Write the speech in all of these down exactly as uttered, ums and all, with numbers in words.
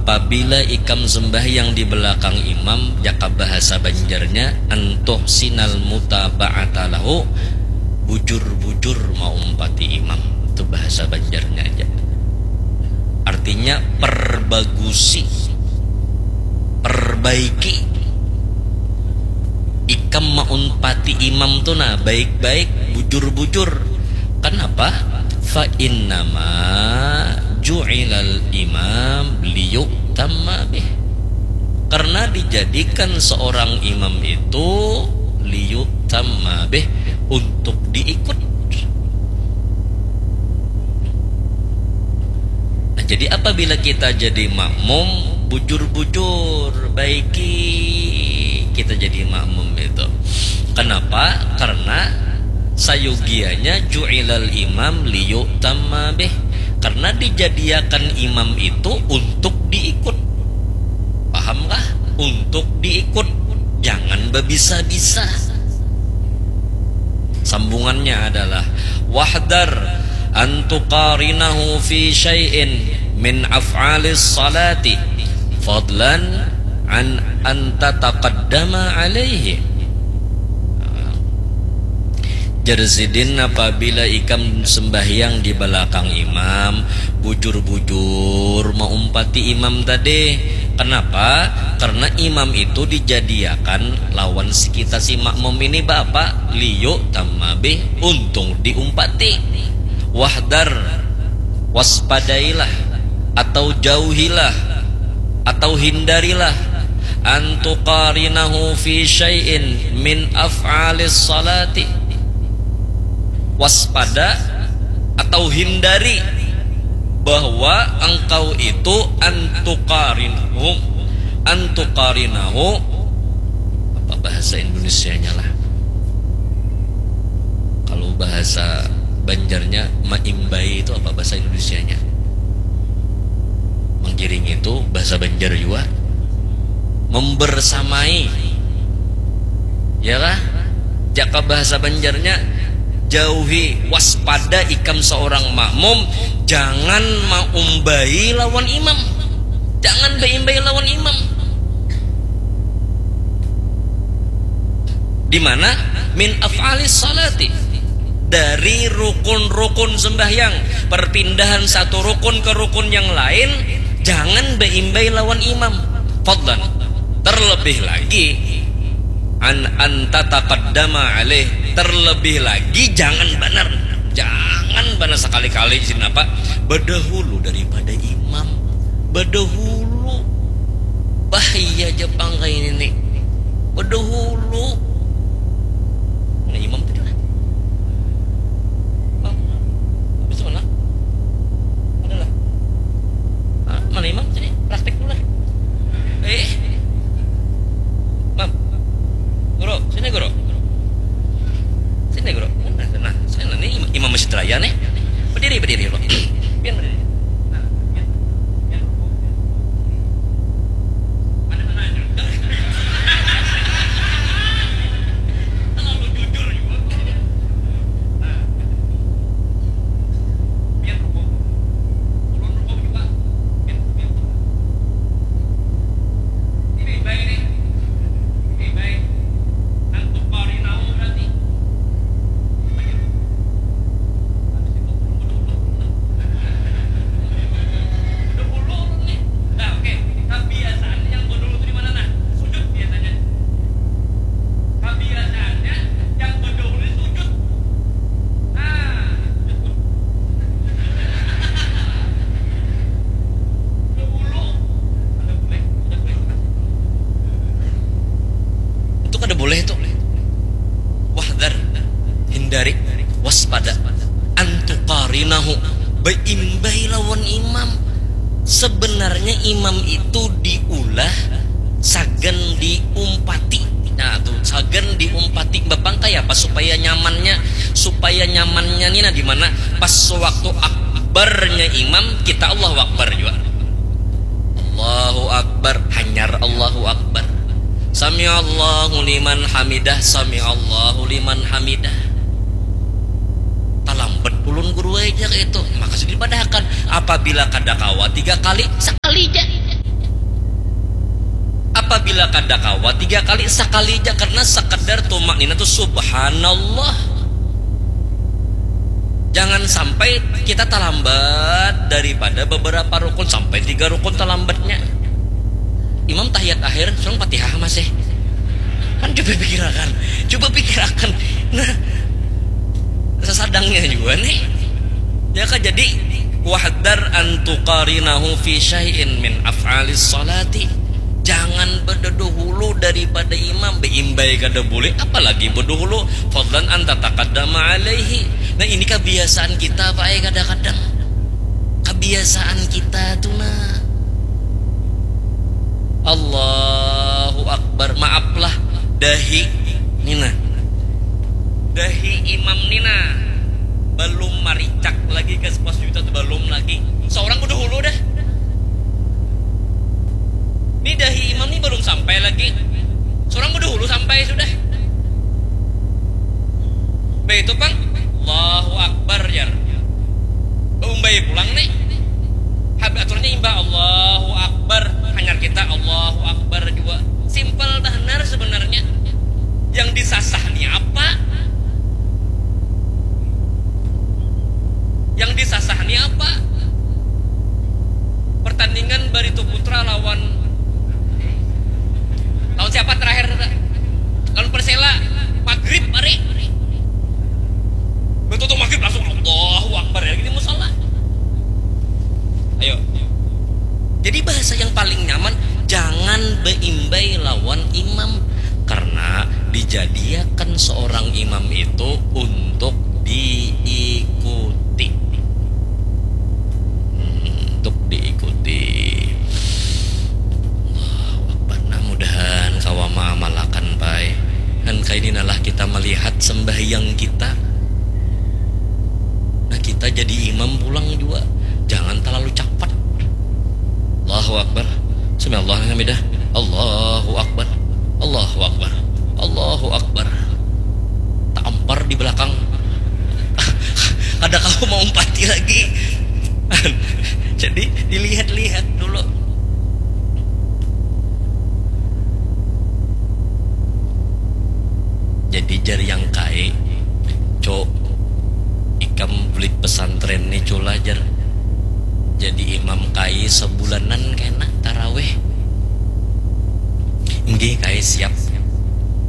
Apabila ikam sembahyang di belakang imam, jaka bahasa Banjarnya, antuhsinal mutaba'ata lahu, bujur-bujur maumpati imam. Itu bahasa Banjarnya aja. Artinya perbagusi, perbaiki. Ikam maumpati imam tu nah baik-baik, bujur-bujur. Kenapa? Fa innama ju'ilal imam liyu'tamma bih. Karena dijadikan seorang imam itu liyu'tamma bih, untuk diikut. Nah, jadi apabila kita jadi makmum, bujur-bujur baiki kita jadi makmum itu. Kenapa? Karena sayugianya ju'ilal imam liyu'tamma bih. Karena dijadiakan imam itu untuk diikut. Pahamkah? Untuk diikut. Jangan babisa-bisa. Sambungannya adalah, wahdar an tuqarinahu fi syai'in min af'alis salati, fadlan an an tataqaddama alaihi. Jar sidin, apabila ikam sembahyang di balakang imam, bujur-bujur maumpati imam tadi. Kenapa? Karena imam itu dijadiakan lawan si kita si makmum ini, baapa? Liyu'tamma bih, untung diumpati. Wahdar, waspadailah, atau jauhilah, atau hindarilah, an tuqarinahu fi syai'in min af'alis salati. Waspada atau hindari bahwa engkau itu an tuqarinahu, an tuqarinahu, apa bahasa Indonesianya lah? Kalau bahasa Banjarnya, maimbai itu apa bahasa Indonesianya? Manggiring itu bahasa Banjar jua. Membersamai. Ya kah? Jaka bahasa Banjarnya, jauhi, waspada ikam seorang makmum, jangan maumbai lawan imam. Jangan baimbai lawan imam. Di mana? Min af'alis salati. Dari rukun-rukun sembahyang, perpindahan satu rukun ke rukun yang lain, jangan baimbai lawan imam. Fadlan. Terlebih lagi, an an tataqaddama alaih. Terlebih lagi, jangan banar. Jangan banar sekali-kali, kenapa? Bedahulu daripada imam. Bedahulu. Bahaya ja pang kaini ni. Bedahulu. Mana imam tadi lah? Imam. Habis tu mana? Ada lah. Hah? Mana imam tadi? Praktek dulu lah. Eh. Mam. Guru, sini guru. Sini guru. Nah, nah, sini ni imam, imam masjid raya ni. Berdiri, berdiri dulu. Pian berdiri. Nah, pian, pian. Mana, mana aja. Terlalu jujur juga. Nah, pian rukuk. Ulun rukuk juga. Pian, pian. Ini baik ni. Ini baik. Antuk kau ni tahu berarti. Habis itu ulun bedahulu. Bedahulu ulun ni. Nah, oke. Kebiasaan yang bedahulu tu di mana, nah? Sujud biasanya. Kebiasaannya yang bedahulu ni sujud. Nah, sujud. Bedahulu. Kada boleh. Kada boleh. Itu kada boleh tu. Wahdar, hindari, waspada, antukarinahu, baimbai lawan imam. Sebenarnya imam itu diulah sagan diumpati. Nah, tu sagan diumpati bapang kaya apa supaya nyamannya, supaya nyamannya ni nah di mana pas waktu akbarnya imam kita Allahu Akbar jua. Allahu Akbar, hanyar Allahu Akbar. Sami'allahu liman hamidah, sami'allahu liman hamidah. Talambat ulun guru ai ja kaitu. Maka sudah dipadahakan, apabila kada kawa tiga kali, sakali ja. Bila kada kawa tiga kali, sakali ja, karena sekedar tumak nina tu subhanallah. Jangan sampai kita terlambat daripada beberapa rukun, sampai tiga rukun terlambatnya. Imam tahiyat akhir, surang Fatihah masih. Kan coba pikirakan, coba pikirakan. Nah, sesadangnya juga nih. Ya kan, jadi wahdar an tuqarinahu fi syai'in min af'alis salati. Jangan berdeduhulu daripada imam, beimbai kada boleh, apalagi berdeduhulu, fadlan an tataqaddama alaihi. Nah, ini kebiasaan kita, Pak, eh, kadang-kadang. Kebiasaan kita tuh, nah. Allahu Akbar, maaflah, dahi. Nina. Dahi imam nina. Belum maricak lagi ke sepos juta tuh, belum lagi. Seorang udah hulu dah. Ni dahi imam ni belum sampai lagi. Seorang udah hulu sampai sudah. Baik itu pang, Allahu Akbar, jar. Umbai pulang nih. Hab aturannya imbah Allahu Akbar, hanyar kita Allahu Akbar juga. Simpel bahnar sebenarnya. Yang disasah ni apa? Yang disasah ni apa? Pertandingan Barito Putra lawan, lawan siapa terakhir? Lawan Persela. Maghrib hari. Betul tuh maghrib langsung Allahu Akbar ya, gini musala. Ayo. Jadi bahasa yang paling nyaman, jangan beimbai lawan imam, karena dijadiakan seorang imam itu untuk diikuti. Hmm, untuk diikuti. Allahu Akbar. Nah, mudahan kawa maamalakan, pai. Dan kaini nalah kita melihat sembahyang kita. Nah, kita jadi imam pulang juga. Jangan terlalu cepat. Allahu Akbar. Sami Allahu liman hamidah. Allahu Akbar. Allahu Akbar. Allahu Akbar. Tampar di belakang. Kada kawa maumpati lagi. Jadi dilihat-lihat dulu. Jadi jar yang kai, Cuk, ikam bulik pesantren ni, Cula, jar. Jadi imam kai sebulanan kena tarawih. Inggih, kai siap.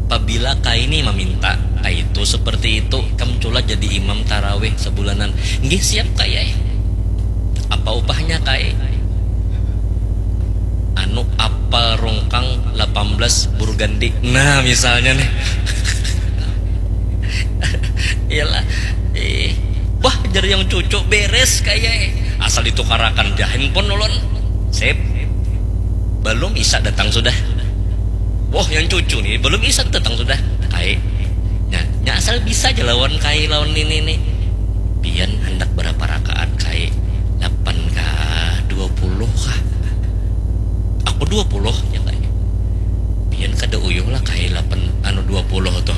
Pabila kai ni maminta, kai itu seperti itu, ikam, Cula, jadi imam tarawih sebulanan. Inggih, siap, kai ai. Apa upahnya, kai? Anu, apal rungkang lapan belas Burgundy. Nah, misalnya nih. Iyalah. Ih, wah, jar yang cucu, beres kaya, eh. Asal ditukarakan ja handphone ulun. Sip. Belum isa datang sudah. Wah, yang cucu nih, belum isa datang sudah. Kai. Nya, nya asal bisa ja lawan kai, lawan nini nih. Pian handak berapa rakaat, kai? Lapan kah? Dua puluh kah? Aku dua puluh, ya, kai. Pian kada uyuh lah, kai, lapan, anu, dua puluh tuh.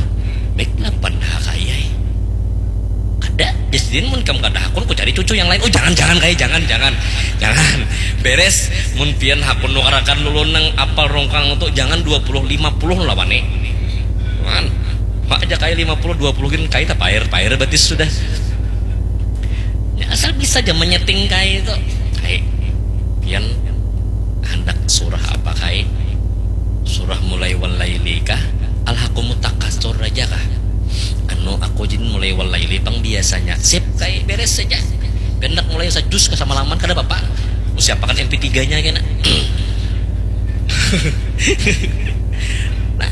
Baik lapan ha, kai ai. Kada, jar sidin, mun kam kada hakun, ku cari cucu yang lain. Oh, jangan, jangan, kai, jangan, jangan. Jangan. Beres, mun pian hakun nukarakan dulu nang apal rongkang tu, jangan dua puluh, lima puluh lah wani. Man, mak aja kai lima puluh, dua puluh gin kai tapair-pair batis sudah. Ya, asal bisa ja menyeting kai tu. Kai, pian handak surah apa, kai? Surah mulai walaili kah? Alhakumut takasur aja kah? Anu, aku jin mulai walaili pang biasanya. Sip, kai, beres saja. Pian handak mulai sajus ka samalaman, kada apa-apa. Ku siapakan M P tiga-nya kena. Nah,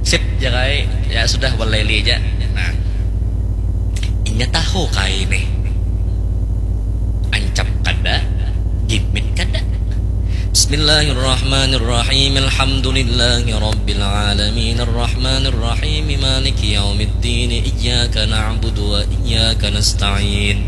sip ja, kai. Ya sudah, walaili aja. Nah. Inya tahu, kai, nih. Ancap kada, gimit kada. Bismillahirrahmanirrahim. Alhamdulillahirabbil alamin. Arrahmanirrahim. Maliki yaumiddin. Iyyaka na'budu wa iyyaka nasta'in.